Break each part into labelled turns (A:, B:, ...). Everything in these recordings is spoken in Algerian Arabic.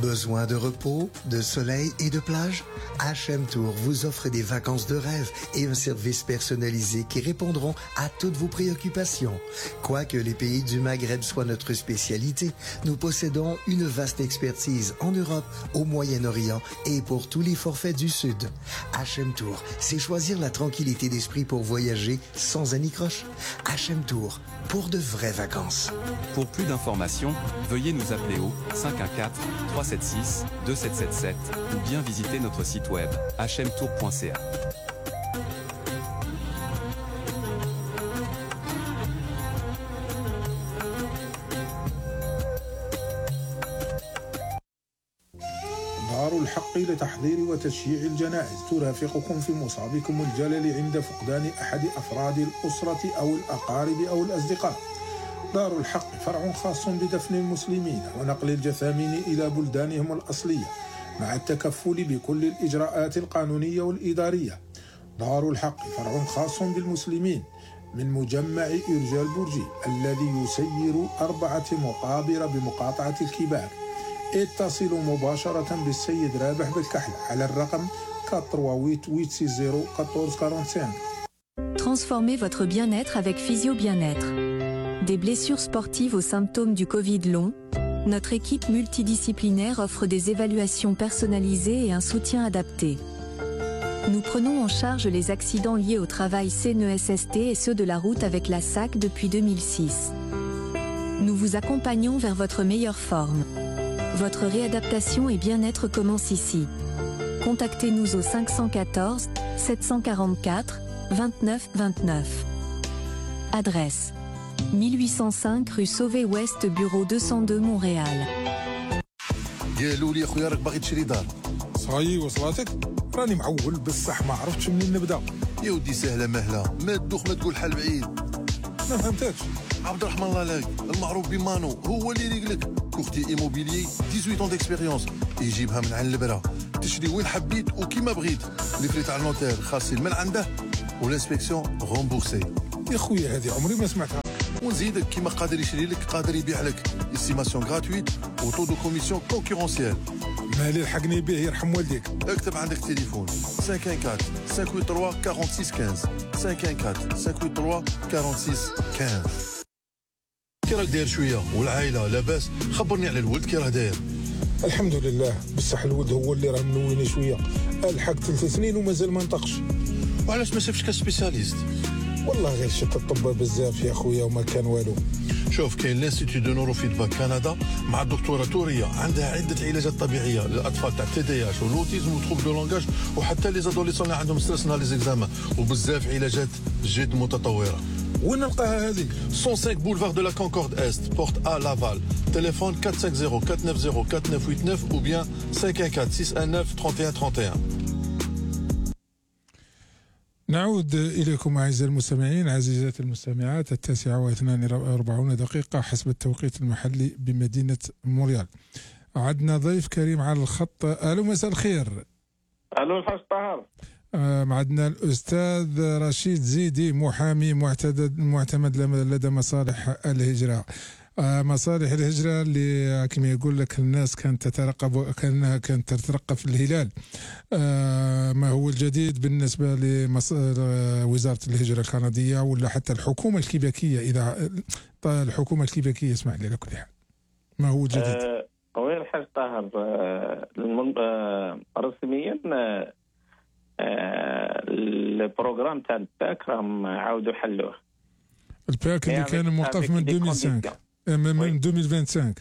A: Besoin de repos, de soleil et de plage? HM Tour vous offre des vacances de rêve et un service personnalisé qui répondront à toutes vos préoccupations. Quoique les pays du Maghreb soient notre spécialité, nous possédons une vaste expertise en Europe, au Moyen-Orient et pour tous les forfaits du Sud. HM Tour, c'est choisir la tranquillité d'esprit pour voyager sans anicroche. HM Tour, pour de vraies vacances.
B: Pour plus d'informations, veuillez nous appeler au 514-376-2777 ou bien visiter notre site web hmtour.ca.
C: دار الحق لتحضير وتشييع الجنائز ترافقكم في مصابكم الجلل عند فقدان أحد أفراد الأسرة أو الأقارب أو الأصدقاء. دار الحق فرع خاص بدفن المسلمين ونقل الجثامين إلى بلدانهم الأصلية مع التكفل بكل الإجراءات القانونية والإدارية. دار الحق فرع خاص بالمسلمين من مجمع إرجاء البرجي الذي يسير 4 مقابر بمقاطعة الكباك. اتصلوا مباشرة بالسيد رابح بالكحل على الرقم 488601445.
D: Transformez votre bien-être avec Physio Bien-être. Des blessures sportives aux symptômes du Covid long, notre équipe multidisciplinaire offre des évaluations personnalisées et un soutien adapté. Nous prenons en charge les accidents liés au travail CNESST et ceux de la route avec la SAC depuis 2006. Nous vous accompagnons vers votre meilleure forme. Votre réadaptation et bien-être commence ici. Contactez-nous au 514 744 29 29. Adresse 1805 rue Sauvé-Ouest, bureau 202 Montréal.
E: يا لولي اخويا راك باغي تشري دار؟
C: صاي وصلاتك؟ راني معول بصح ما عرفتش منين نبدا.
E: يا ودي سهله مهله، ما تدوخ ما تقول حل بعيد.
C: ما فهمتكش.
E: عبد الرحمن الله لاك المعروف بمانو هو اللي يريقلك كوختي ايموبيليي 18 ans d'expérience يجيبها من عند البرا تشري وين حبيت وكيما بغيت. لي فري تاع النوتير خاصين من عنده والانسبكسيون رومبورسي.
C: يا خويا هذه عمري ما سمعتها.
E: ونزيدك كيما قادر يشري لك قادر يبيع لك استيماسيون غراتويت وطو دو كوميسيون كونكورونسيال.
C: مالي لحقني به يرحم والديك.
E: اكتب عندك تليفون 514 583 46 15 514 583 46 15. كي راك داير شويه والعائله لاباس؟ خبرني على الولد كي راه داير.
C: الحمد لله بصح الولد هو اللي راه منويني شويه. الحق 3 سنين ومازال ما نطقش.
E: وعلاش ما شافش كسبيسياليست؟
C: والله غير شت الطب بزاف يا خويا وما كان والو.
E: شوف كاين لانستيتو دو نورو فيدباك كندا مع الدكتوره توريه عندها عده علاجات طبيعيه للاطفال تاع تي دي اش والاوتيزم وتروب دو لونغاج وحتى لي زادوليسون اللي عندهم ستريس نهار لي زيكزامان وبزاف علاجات جد متطوره.
C: وين نلقاها هذه؟
E: 105 بولفار دو لا كونكورد است بورت ا لافال. تليفون 450 490 4989 ou bien 514 619 31 31.
C: نعود إليكم أعزائي المستمعين عزيزات المستمعات 9:42 حسب التوقيت المحلي بمدينة مونريال. عندنا ضيف كريم على الخط. ألو مساء الخير.
F: ألو الحاج طاهر.
C: عندنا الأستاذ رشيد زيدي محامي معتمد لدى مصالح الهجرة. مصالح الهجرة اللي كما يقول لك الناس كانت تترقب في الهلال. ما هو الجديد بالنسبة لوزارة الهجرة الكندية ولا حتى الحكومة الكيبيكية؟ إذا الحكومة الكيبيكية اسمح لي على كل حال، ما هو الجديد؟
F: وين الحاج طاهر رسميا البروغرام تاع الباك راهم عاودوا حلوه.
C: الباك اللي كان موقف من 2005 من 2025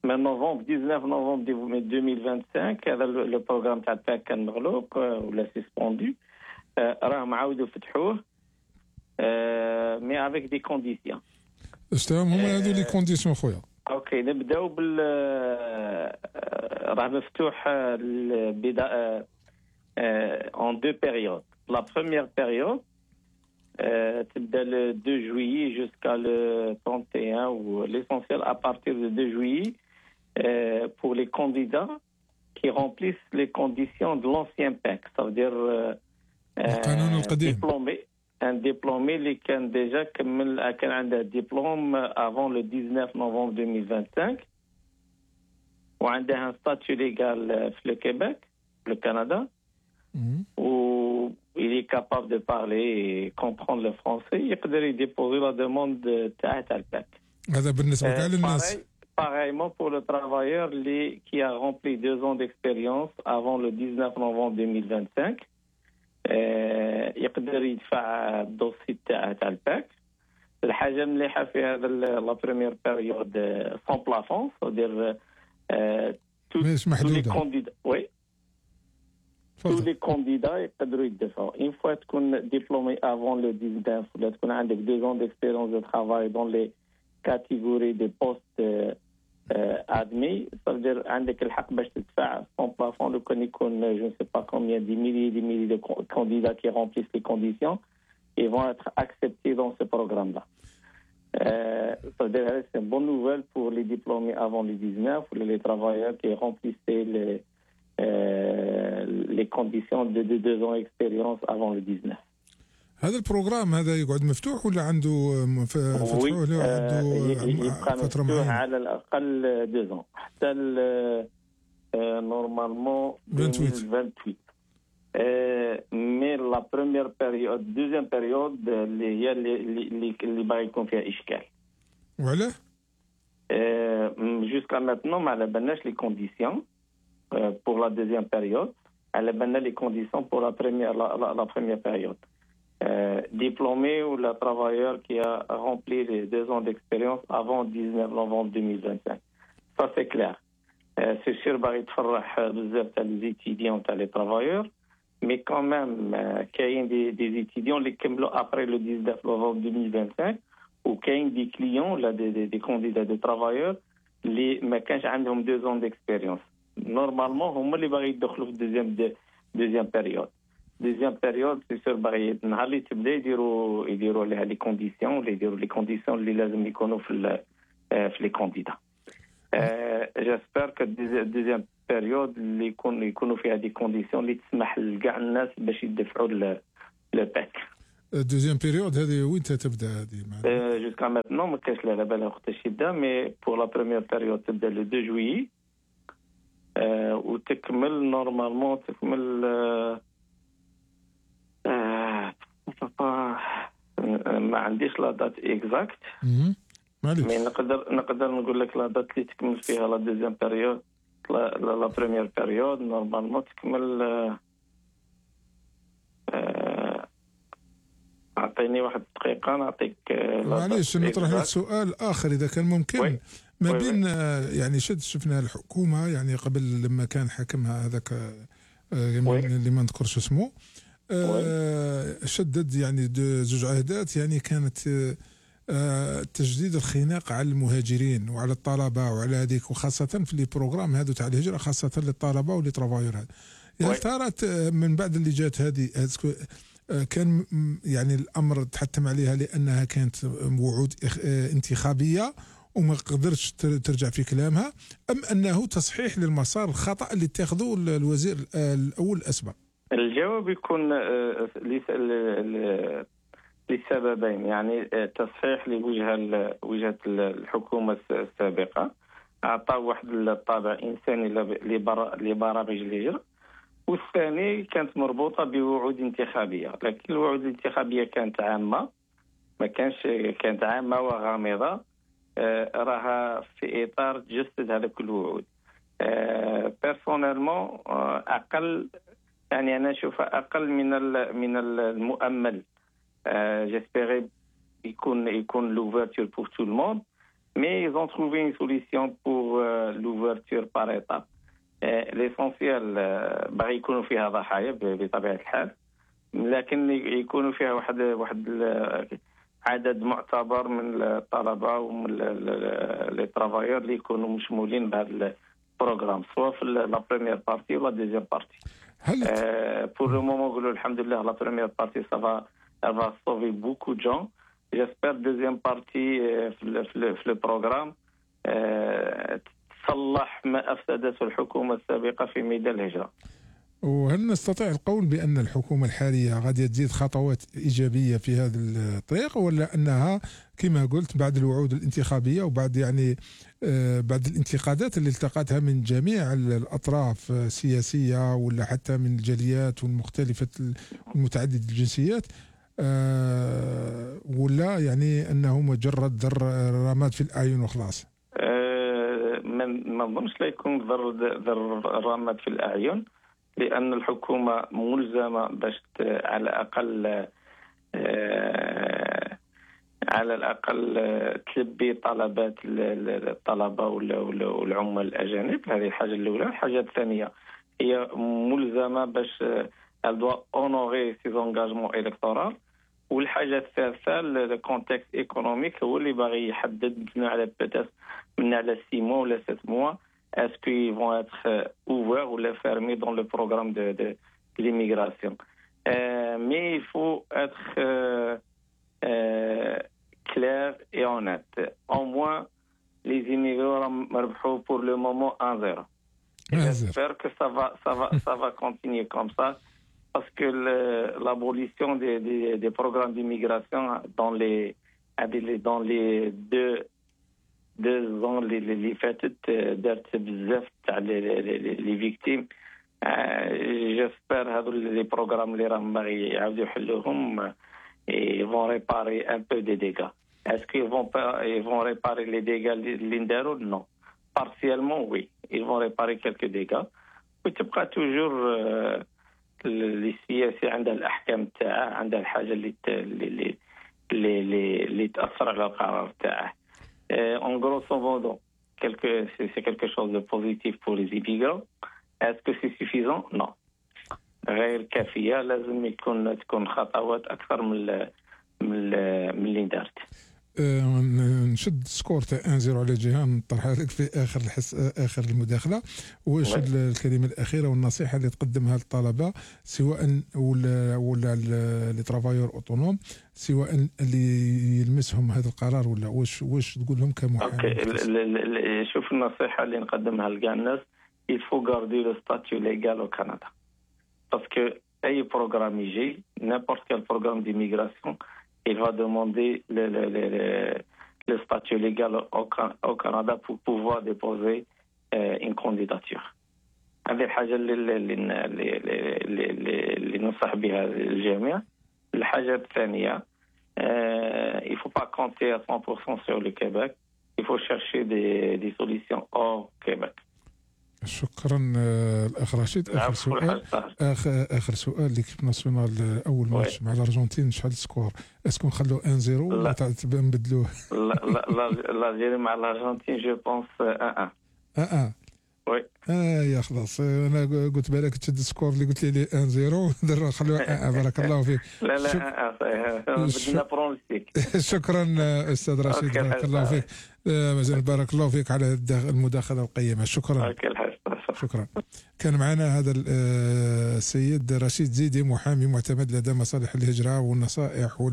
F: من نوفمبر 19 نوفمبر 2025 هذا لو بروغرام تاع الباك كان مغلوق ولا سيسبوندو. راهم عاودوا فتحوه مي افيك دي كونديسيون.
C: شنو هما هذو لي كونديسيون خويا؟
F: اوكي نبداو بال راه مفتوح البدايه en 2 périodes. La première période تبدا le 2 juillet jusqu'à le 31 ou l'essentiel à partir de 2 juillet pour les candidats qui remplissent les conditions de l'ancien PEC, ça veut dire un diplômé اللي كان déjà كان عنده diplôme avant le 19 novembre 2025 وعنده ستاتيو ليغال في الكيبيك في كندا و il est capable de parler et comprendre le français يقدر يديبوزي لا دوموند تاع الباك.
G: هذا بالنسبه كاع للناس.
F: Pareillement pour le travailleur qui a rempli 2 ans d'expérience avant le 19 novembre 2025 يقدر يدفع الدوسي تاع الباك. الحاجه مليحه في هذا لا بريمير بيريود سون بلافون c'est-à-dire
G: مش محدوده.
F: وي tous les candidats يقدروا يدفعوا. Une fois تكون diplômé avant le 19 ولا تكون عندك 2 ans d'expérience de travail dans les catégories de postes admis, ça veut dire عندك الحق باش تدفع son plafond. لو كان يكون je ne sais pas combien des milliers de candidats qui remplissent les conditions, ils vont être acceptés dans ce programme-là. Ça veut dire c'est une bonne nouvelle pour les diplômés avant le 19 ou les travailleurs qui remplissaient les conditions de 2 ans d'expérience avant le 19.
G: هذا البروغرام هذا يقعد مفتوح ولا عنده فتحوه له عنده فترة معينة؟
F: على الأقل 2 ans حتى نورمالمون 28. مي لا بروميير بيريود دوزيام بيريود اللي هي اللي باغي يكون فيها إشكال.
G: وعلاه؟
F: جوسكا ماتنون ما على بالناش لي كونديسيون pour la deuxième période. على بالنا لي كونديسيون pour la première période. Diplômé ou le travailleur qui a rempli les 2 ans d'expérience avant 19 novembre 2025. Ça c'est clair. C'est sûr باغي تفرح بزاف تاع les étudiants تاع les travailleurs, mais quand même كاين des étudiants اللي كملوا après le 19 novembre 2025 وكاين des clients là des candidats de travailleurs اللي ما كانش عندهم 2 ans d'expérience. Normalement هما اللي باغي يدخلوا في deuxième période. Deuxième période, c'est sûr, نهار اللي تبدا يديروا عليها لي كونديسيون اللي يديروا لي كونديسيون اللي لازم يكونوا في لي كانديدا. جيسبر كو الدوزيام بيريود اللي يكونوا فيها دي كونديسيون اللي تسمح لكاع الناس باش يدفعوا الباك.
G: الدوزيام بيريود هذه وين تبدا هذه؟
F: جوسكا ماتنون ما كاينش لا بالا وقتاش يبدا، مي بور لا بروميير بيريود تبدا لو 2 جويي وتكمل نورمالمون ما عنديش لا دات اكزاكت، مي نقدر نقول لك لا دات اللي تكمل فيها لا دوزيام بيريود. لا بريمير بيريود نورمالمون تكمل اعطيني 1 دقيقه نعطيك.
G: معليش نطرح لك سؤال اخر اذا كان ممكن. ما بين يعني شفنا الحكومه يعني قبل لما كان حكمها هذاك اللي ما نذكرش اسمه شدد يعني 2 عهدات، يعني كانت تجديد الخناق على المهاجرين وعلى الطلبه وعلى هذيك، وخاصه في لي بروغرام هذو تاع الهجره خاصه للطلبه ولي ترافايور. هل ترى من بعد اللي جات هذه كان يعني الامر تحتم عليها لانها كانت وعود انتخابيه وما قدرتش ترجع في كلامها، ام انه تصحيح للمسار الخطا اللي اتخذه الوزير الاول الاسبق؟
F: الجواب يكون لسببين. يعني تصحيح لوجهة الحكومة السابقة أعطى واحد الطابع إنساني لبرامج الهجرة، والثاني كانت مربوطة بوعود انتخابية، لكن الوعود الانتخابية كانت عامة، كانت عامة وغامضة، راها في إطار تجسد هذاك الوعود. بيرسونيلمون أقل، يعني أنا أشوفها أقل من المؤمل. J'espérais يكون l'ouverture pour tout le monde, mais ils ont trouvé une solution pour l'ouverture par étapes. L'essentiel باغي يكونوا فيها ضحايا بطبيعة الحال، لكن يكونوا فيها واحد عدد معتبر من الطلبة ومن لي ترافايور اللي يكونوا مشمولين بهذا البروغرام، سواء في لا بريمير بارتي ولا دوزيام بارتي. Pour le moment نقولوا الحمد لله la première partie elle va sauver beaucoup de gens. J'espère deuxième partie في le programme تصلح ما أفسدته الحكومة السابقة في ميدان الهجرة.
G: وهل نستطيع القول بأن الحكومة الحالية غادية تزيد خطوات إيجابية في هذا الطريق، ولا أنها كما قلت بعد الوعود الانتخابية وبعد يعني بعد الانتقادات اللي التقتها من جميع الأطراف السياسية ولا حتى من الجاليات والمختلفة المتعددة الجنسيات، ولا يعني أنه مجرد رماد في الأعين وخلاص؟
F: ما نظنش لا يكون ذر رماد في الأعين، لأن الحكومة ملزمة باش على الأقل تلبي طلبات الطلبة والعمال الأجانب. هذه الحاجة الأولى. الحاجة الثانية هي ملزمة باش elle doit honorer ses engagements électoraux. والحاجة الثالثة الكونتكست ايكونوميك هو اللي باغي يحدد من على 6 mois ولا 7 mois est-ce qu'ils vont être ouverts ou fermés dans le programme de l'immigration. Mais il faut être clair et honnête. Au moins, les immigrants مربحوا pour le moment 1-0. J'espère que ça va continuer comme ça, parce que l'abolition des programmes d'immigration dans les 2 ans اللي فاتت دارت بزاف تاع لي فيكتيم. جيسبر هذو لي بروغرام اللي راهم باغي يعاودوا يحلوهم يفون ريباري ان بو دي ديغا. اسكو يفون ريباري لي ديغا اللي نداروا؟ نو، بارسيالمون وي يفون ريباري كالكو ديغا. وتبقى توجور السياسي عندها الاحكام تاعها، عندها الحاجه اللي تاثر على القرار تاعه. En grosso modo, c'est quelque chose de positif pour les immigrants. Est-ce que c'est suffisant? Non. غير كافية. لازم تكون خطوات أكثر من اللي دارت.
G: نشد سكور تاع 1-0 على جهة نطرحها لك في آخر المداخلة. واش الكلمة الأخيرة والنصيحة اللي تقدمها للطلبة، سواء ولا لي ترافايور اوتونوم، سواء اللي يلمسهم هذا القرار، ولا واش تقول لهم كمحامي؟
F: شوف النصيحة اللي نقدمها لكاع الناس، il faut garder le statut légal au Canada. Parce que أي programme يجي، n'importe quel programme d'immigration, il va demander le statut légal au Canada pour pouvoir déposer une candidature. هذه الحاجة اللي ننصح بها الجميع. الحاجة الثانية، il faut pas compter à 100% sur le Québec. Il faut chercher des solutions hors Québec.
G: شكرا الاخ رشيد. اخر سؤال ليكيب ناسيونال، اول ماتش مع الارجنتين شحال السكور؟ اسكو نخلوه 1-0 ولا نبدلوه؟
F: لا الجيري مع الارجنتين جو بونس 1-1. وي
G: يا خلاص. انا قلت بالك تشد السكور اللي قلت لي 1-0 خلوه 1-1. بارك الله فيك.
F: لا بدنا برونستيك.
G: شكرا استاذ رشيد، بارك الله فيك. مازال بارك الله فيك على المداخله القيمه. شكرا. شكرا. كان معنا هذا السيد رشيد زيدي، محامي معتمد لدى مصالح الهجرة والنصائح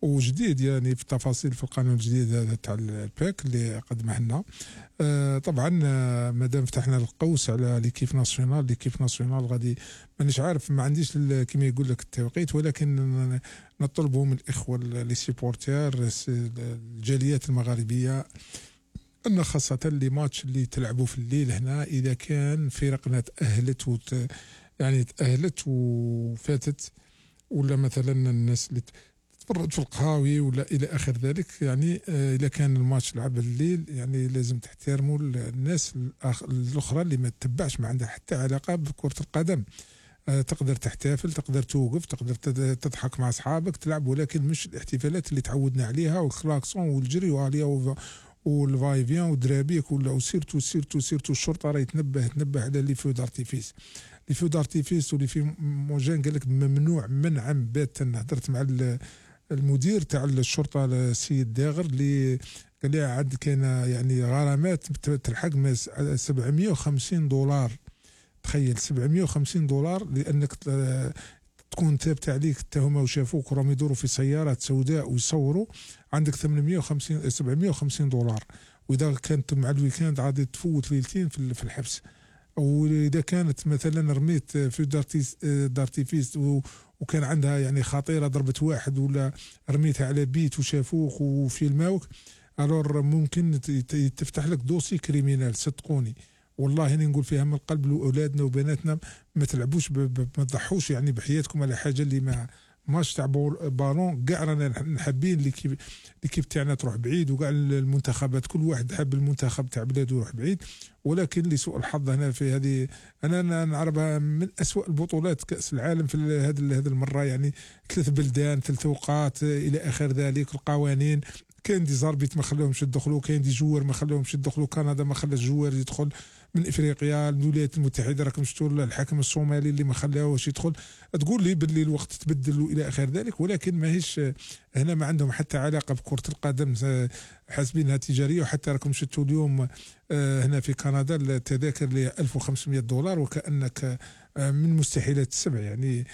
G: وجديد يعني في التفاصيل في القانون الجديد هذا تاع الباك اللي قدمه لنا. طبعا مادام فتحنا القوس على ليكيب ناسيونال غادي مانيش عارف، ما عنديش كما يقول لك التوقيت، ولكن نطلبوا من الاخوه لي سيبورتير الجاليات المغاربيه أن خاصة اللي ماتش اللي تلعبوا في الليل هنا، إذا كان فرقنا تأهلت وفاتت، ولا مثلا الناس اللي تفرج في القهاوي ولا إلى آخر ذلك، يعني إذا كان الماتش لعب الليل يعني لازم تحترموا الناس الأخرى اللي ما تتبعش، ما عندها حتى علاقة بكرة القدم. تقدر تحتفل، تقدر توقف، تقدر تضحك مع أصحابك تلعب، ولكن مش الاحتفالات اللي تعودنا عليها والكلاكسون والجري وعليها والفاي فيان ودرابيك ولا سيرتو الشرطه راه تنبه على لي فو دارتيفيس ولي في موجان قال لك ممنوع منعا باتا. هضرت مع المدير تاع الشرطه السيد داغر اللي قال لي عاد كاين يعني غرامات تلحق $750. تخيل $750 لانك تكون ثابت عليك التهمه وشافوك وراهم يدوروا في سيارات سوداء ويصوروا، عندك $750. واذا كانت مع الويكاند غادي تفوت ليلتين في الحبس. واذا كانت مثلا رميت في دارتيفيس وكان عندها يعني خطيره ضربت واحد، ولا رميتها على بيت وشافوك وفيلماوك، الور ممكن تفتح لك دوسي كريمينال. صدقوني والله انا نقول فيها من القلب لاولادنا وبناتنا، ما تلعبوش ما تضحوش يعني بحياتكم على حاجه اللي ما ماتش تاع بالون. كاع رانا حابين ليكيب تاعنا تروح بعيد، وكاع المنتخبات كل واحد حاب المنتخب تاع بلاده يروح بعيد، ولكن لسوء الحظ هنا في هذه انا نعرفها من أسوأ البطولات كأس العالم في هذه المره. يعني 3 بلدان 3 توقات الى اخر ذلك. القوانين كاين دي زاربيت ما خلاهمش يدخلوا، كاين دي جوار ما خلاهمش يدخلوا، كندا ما خلاش جوار يدخل من افريقيا، الولايات المتحده راكم شفتوا الحاكم الصومالي اللي ما خلاهوش يدخل. تقول لي باللي الوقت تبدل الى اخر ذلك، ولكن ماهيش هنا ما عندهم حتى علاقه بكره القدم، حاسبينها تجاريه. وحتى راكم شفتوا اليوم هنا في كندا التذاكر ل $1500 وكانك من مستحيلات السبع يعني.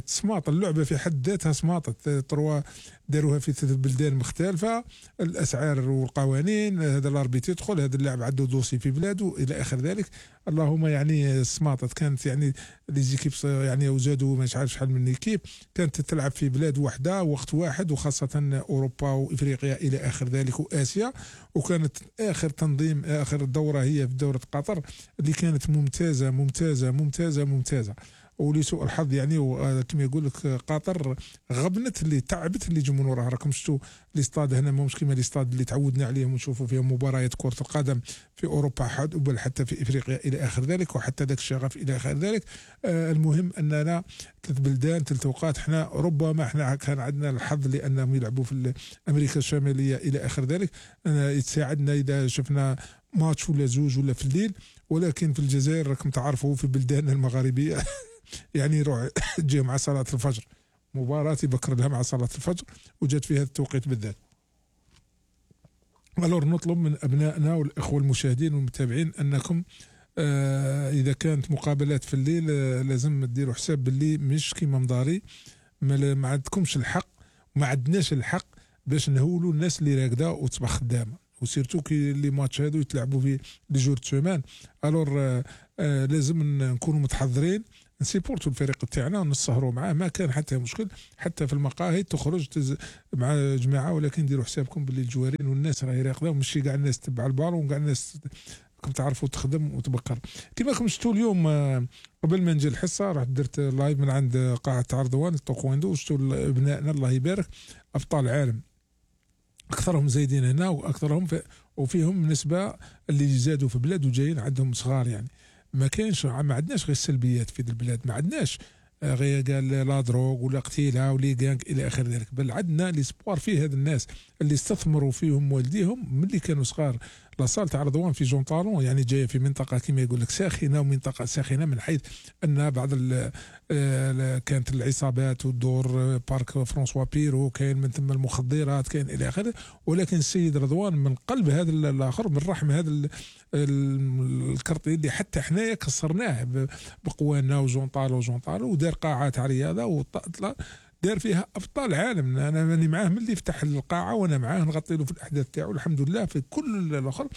G: تسماط اللعبة في حد ذاتها سماطت. تروا داروها في 3 بلدان مختلفة، الأسعار والقوانين، هذا الأربيت يدخل، هذا اللاعب عنده دوسي في بلاده إلى آخر ذلك. اللهم يعني سماطت. كانت يعني ليزيكيب يعني وزادوا مش عارف شحال من ايكيب كانت تلعب في بلاد واحدة وقت واحد، وخاصة أوروبا وإفريقيا إلى آخر ذلك وآسيا. وكانت آخر تنظيم آخر دورة هي في دورة قطر اللي كانت ممتازة ممتازة ممتازة ممتازة. ولسوء الحظ يعني كما يقول لك قطر غبنت اللي تعبت اللي جمهورها. راكم شفتوا الاستاد هنا مش كما الاستاد اللي تعودنا عليهم ونشوفوا فيهم مباريات كرة القدم في اوروبا بل حتى في افريقيا الى اخر ذلك، وحتى ذاك الشغف الى اخر ذلك. المهم اننا 3 بلدان 3 توقات. احنا ربما احنا كان عندنا الحظ لانهم يلعبوا في امريكا الشماليه الى اخر ذلك، يتساعدنا اذا شفنا ماتش ولا زوج ولا في الليل. ولكن في الجزائر راكم تعرفوا في بلداننا المغاربيه يعني يروح تجي مع صلاة الفجر مباراة يبكر لها مع صلاة الفجر وجات في هذا التوقيت بالذات. الور نطلب من أبنائنا والإخوة المشاهدين والمتابعين أنكم إذا كانت مقابلات في الليل لازم تديروا حساب باللي مش كيما مضاري، ما عندكمش الحق وما عندناش الحق باش نهولوا الناس اللي راكده وتصبح خدامة، وسيرتو كي لي ماتش هادو يتلعبوا في لي جور سومان. الور لازم نكونوا متحضرين، نسيبورتو الفريق تاعنا ونسهروا معاه، ما كان حتى مشكل. حتى في المقاهي تخرج مع جماعه، ولكن ديروا حسابكم باللي الجوارين والناس راهي راقده، وماشي كاع الناس تبع البالون وكاع الناس راكم تعرفوا تخدم وتبكر. كما راكم شفتوا اليوم قبل ما نجي الحصه رحت درت لايف من عند قاعه عرضوان التوكواندو، وشفتوا ابنائنا الله يبارك ابطال العالم، اكثرهم زايدين هنا واكثرهم وفيهم نسبه اللي زادوا في بلاد وجايين عندهم صغار. يعني ما كاينش، ما عندناش غير السلبيات في البلاد، ما عندناش غير قال لا دروغ ولا قتيله ولي غانغ الى اخر ذلك، بل عندنا ليسبوار فيه هاد الناس اللي استثمروا فيهم والديهم ملي كانوا صغار. لاصال تاع رضوان في جون طالون يعني جايه في منطقه كما يقول لك ساخنه، ومنطقه ساخنه من حيث ان بعض كانت العصابات والدور بارك فرانسوا بيرو، كاين من ثم المخدرات، كاين الى اخره. ولكن السيد رضوان من قلب هذا الاخر، من رحم هذا الكرطي اللي حتى حنايا كسرناه بقوانا وجون طالو ودار قاعه تاع رياضه دار فيها ابطال عالم. انا ماني معاه من اللي فتح القاعه وانا معاه نغطي له في الاحداث تاعو الحمد لله. في كل الاخر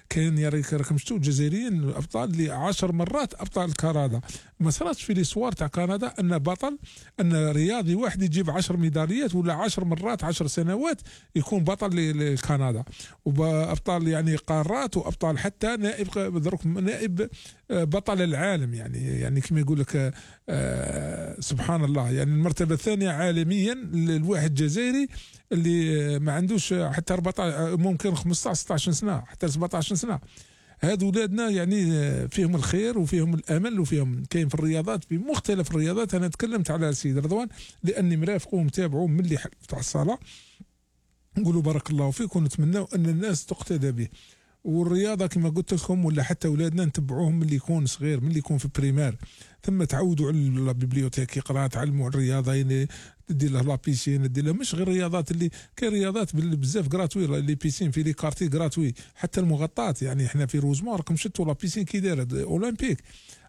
G: كان يا ريك راكم شفتوا الجزائريين الابطال اللي 10 مرات ابطال كندا. ما صارتش في ليسوار تاع كندا ان بطل ان رياضي واحد يجيب 10 ميداليات ولا 10 مرات 10 سنوات يكون بطل لكندا، وابطال يعني قارات، وابطال حتى نائب بطل العالم. يعني كما يقول لك سبحان الله، يعني المرتبه الثانيه عالميا الواحد جزائري اللي ما عندوش حتى 14 ممكن 15 16 سنه حتى 17 سنه. هذو ولادنا يعني فيهم الخير وفيهم الامل وفيهم كاين في الرياضات، في مختلف الرياضات. انا تكلمت على السيد رضوان لاني مرافقه ومتابعه من اللي تاع الصلاه، نقولوا بارك الله فيك ونتمنى ان الناس تقتدى به. والرياضه كما قلت لكم ولا حتى اولادنا نتبعوهم من اللي يكون صغير، من اللي يكون في بريمير، ثم تعودوا على البيبليوتيك يقرا، تعلموا على الرياضه، يعني دير له لابيسين، دير له مش غير الرياضات اللي كاين رياضات بزاف غراتوي، لي بيسين في لي كارتي غراتوي، حتى المغطات. يعني احنا في روزمون راكم شفتوا لابيسين كي دايره اولمبيك،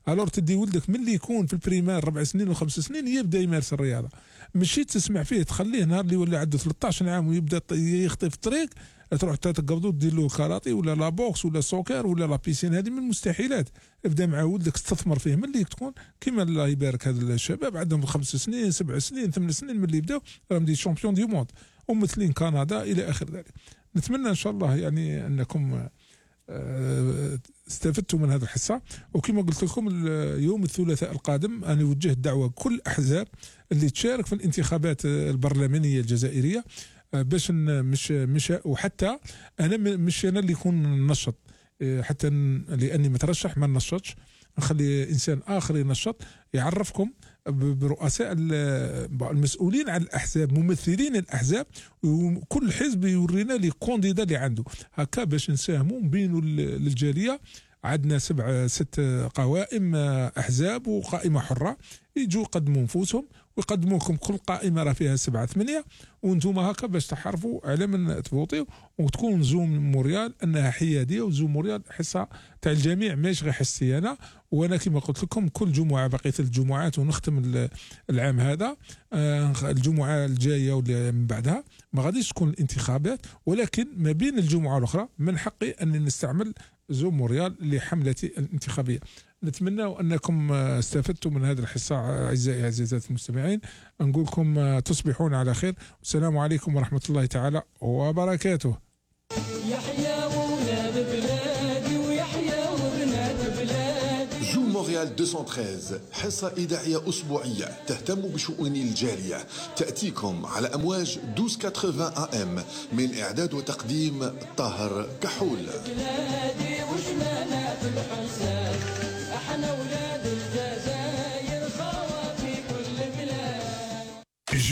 G: الور تدي ولدك من اللي يكون في البريمير 4 سنين و5 سنين يبدا يمارس الرياضه، ماشي تسمع فيه تخليه نهار اللي ولا عنده 13 عام ويبدا يخطي في الطريق تروح تقبضو دير له كاراتي ولا لا بوكس ولا سوكر ولا لا بيسين. هذه من المستحيلات. ابدا مع ولدك استثمر فيه من اللي تكون كيما الله يبارك هذا الشباب عندهم 5 سنين 7 سنين 8 سنين من اللي يبداو راهم دي شامبيون دي موند وممثلين كندا الى اخر ذلك. نتمنى ان شاء الله يعني انكم استفدتوا من هذه الحصه. وكما قلت لكم يوم الثلاثاء القادم انا نوجه الدعوه كل الاحزاب اللي تشارك في الانتخابات البرلمانيه الجزائريه باش مش وحتى انا مش انا اللي يكون نشط، حتى لاني مترشح ما نشطش، نخلي انسان اخر ينشط يعرفكم برؤساء المسؤولين عن الاحزاب، ممثلين الاحزاب، وكل حزب يورينا لي كونديدا اللي عنده هكا باش نساهموا بينوا للجاليه. عندنا 6 قوائم احزاب وقائمه حره، يجوا يقدموا نفوسهم ويقدموا لكم كل قائمه راه فيها 7 8 وانتم هكا باش تحرفوا على من تفوتيو وتكون زوم موريال انها حياديه وزوم موريال حصه تاع الجميع ماشي غير حصتي انا. وانا كما قلت لكم كل جمعه بقيه الجمعات ونختم العام هذا، الجمعه الجايه واللي من بعدها ما غاديش تكون الانتخابات، ولكن ما بين الجمعه الاخرى من حقي اني نستعمل زوم موريال لحملتي الانتخابيه. نتمنى انكم استفدتوا من هذه الحصه اعزائي عزيزات المستمعين. نقول لكم تصبحون على خير والسلام عليكم ورحمه الله تعالى وبركاته.
H: يحيى ولاد بلادي ويحيى وبنات بلادي.
E: جو مونريال 213 حصة إذاعية أسبوعية تهتم بشؤون الجالية، تأتيكم على أمواج 1280 AM من إعداد وتقديم طاهر كحول.
H: بلادي وشمالات الحساد احنا ولاد الجزائر خوا في كل بلاد.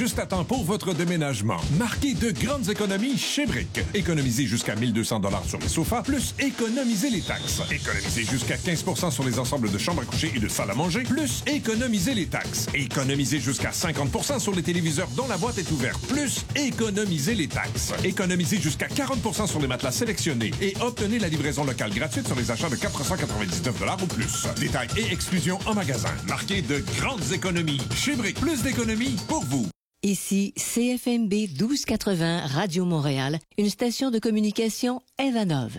I: Juste à temps pour votre déménagement. Marquez de grandes économies chez Brick. Économisez jusqu'à 1 200 $ sur les sofas, plus économisez les taxes. Économisez jusqu'à 15 % sur les ensembles de chambres à coucher et de salle à manger, plus économisez les taxes. Économisez jusqu'à 50 % sur les téléviseurs dont la boîte est ouverte, plus économisez les taxes. Économisez jusqu'à 40 % sur les matelas sélectionnés et obtenez la livraison locale gratuite sur les achats de 499 $ ou plus. Détails et exclusions en magasin. Marquez de grandes économies chez Brick. Plus d'économies pour vous.
J: Ici CFMB 1280 Radio Montréal, une station de communication Evanov.